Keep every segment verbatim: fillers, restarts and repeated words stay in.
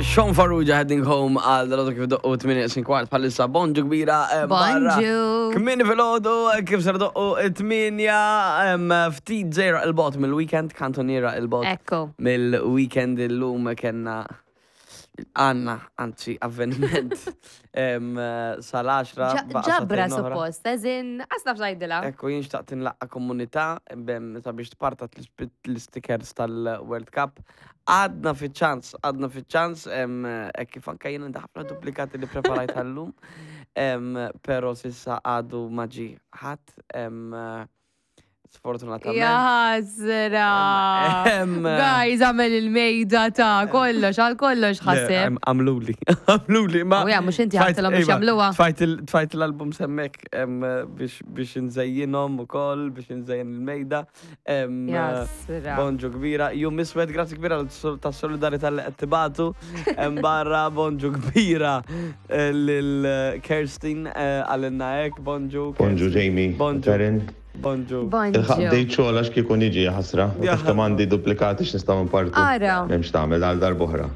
Sean Farrugia, "Heading Home", għal dal kif doqqu tmienja kwart bħalissa. Bonġu kbira eh, barra. Bonġu. Kmieni filgħodu, eh, kif ser doqqu tmienja, em, ftit żgħira 'l bogħod mill-weekend, kantoniera 'l bogħod Ekku. mill-weekend. Illum kellna, għandna, anzi, avveniment em, sal-għaxra. Baqa' Ġabra sagħtejn oħra. Suppost, eżin, għasna f'xajdila. Ekku, jien xtaqt nlaqqa komunità bem sabiex tpartat l-stickers tal-World Cup. Għadna fi ċans, għadna fi ċans, hekk kif anka jien għandi ħafna duplikati li preparajt għallum, em, pero s'issa għadu ma ġie ħadd, em, sfortunatament. Jaħasra. Em, Guys, għamel il-mejda ta' kollox, għal kollox ħaseb. Għamluli, għamluli, ma. U ja, mhux inti tfajt- għedtilhom biex iva, jagħmluha. Tfajt il- tfajt l-album hemmhekk em, biex biex nżejjinhom ukoll, biex nżejjen il-mejda. Em, Jaħasra. Bonġu kbira, jum iswed, grazzi kbira ta' solidarità li qed tibagħtu. Em, Barra, bonġu kbira eh, lil Kerstin eh, għalinna hekk, bonġu. Bonġu Kerstin. Jamie, Bonġu. Karen. Bonġu. Il-ħaq Bonġu. bdejt xogħol għax kieku niġi, ħasra. U Ja. taf kemm għandi duplikati x'nistgħu npartu. Ara. M'hemmx tagħmel, għal darb'oħra.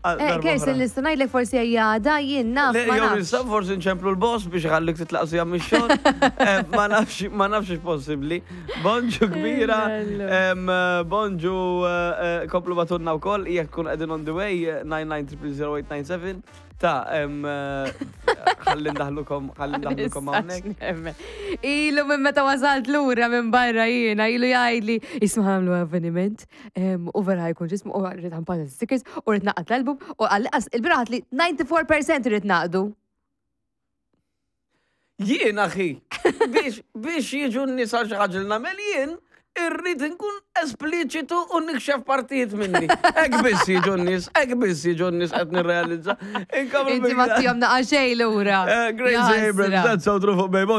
Għal Eh, darba Kirsten, oħra. nista' ngħidlek forsi għada, jien naf, Le, ma jew nafx. nista' forsi nċemplu l-boss biex ħallik titlaq sija mix-xogħol. Eh, Ma nafx, ma nafx possibbli. Bonġu kbira. Em, eh, Bonġu eh, eh, komplu ibagħtulna wkoll jekk tkun qegħdin on the way, eh, nine nine zero zero eight nine seven ta' em, eh, ħalli ndaħlukom ħalli ndaħlukom hawnhekk. Nistax nemmen. Ilu minn meta wasalt lura minn barra jiena, ilu jgħidli, "Isma', għamlu avveniment, em, u vera ħa jkun ġismu, u rrid ħampata stickers, u rrid naqgħad l-album", u għal il-bieraħ li disgħa u disgħin fil-mija rrid naqdu. Jien, aħi, biex biex jiġu n-nies għal xi ħaġa li nagħmel jien, irrid nkun espliċitu u nikxef partijiet minni. Hekk biss jiġu n-nies, hekk biss jiġu n-nies, qed nirrealizza. Inkomplu Inti ma bil- tihom naqa xejn lura. Eh, Gracie Abrams, Jaħasra. "That's So True" fuq Bejbon.